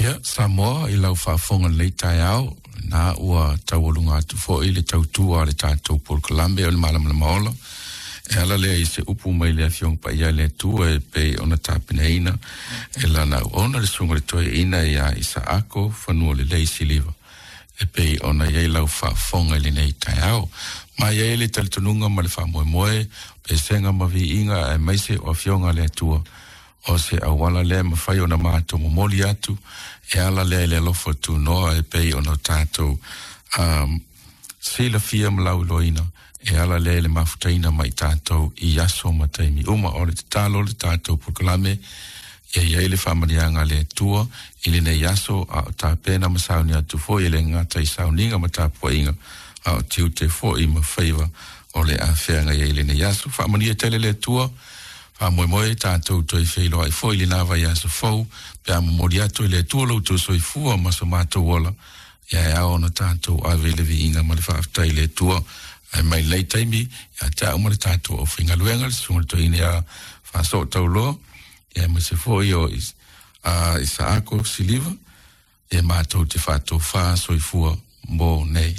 Ia, Samoa, i lau faafofoga i lenei taeao, na ua taualuga atu foi le tautua a le tatou polokalame o le Malamalama Ola, e ala lea i se upu mai le Afioga Paia a le Atua e pei ona tapenaina e lana auauna le Susuga i le Toeaina ia Isaako Fanualelei Siliva, e pei ona i ai lau faafofoga i lenei taeao. Ma e i ai le talitonuga ma le faamoemoe, pesega ma viiga aemaise o Afioga a le Atua, o se auala lea e mafai ona matou momoli atu e ala lea i le alofa tunoa e pei ona tatou silafia ma lauiloaina e ala lea i le mafutaina mai tatou i aso ma taimi uma. O le tatalo le tatou polokalame ia i ai le faamanuiaga a le Atua i lenei aso, a o tapena ma sauni atu foi e le gata i sauniga ma tapuaiga, a o tiute foi ma faiva o le afeaga i ai lenei aso. Faamanuia tele le Atua. Faamoemoe tatou toe feiloai foi i lena vaiaso fou pe a momoli atu e le Atua lo outou soifua ma so matou ola, ia e ao ona tatou ave i le viiga ma le faafetai i le Atua. Ae mai lenei taimi ia te au ma le tatou aufaigaluega, le susuga i le toeaina ia Faasootauloa, ia aemaise foi o Isaako Siliva, e matou te faatofā soifua mo nei.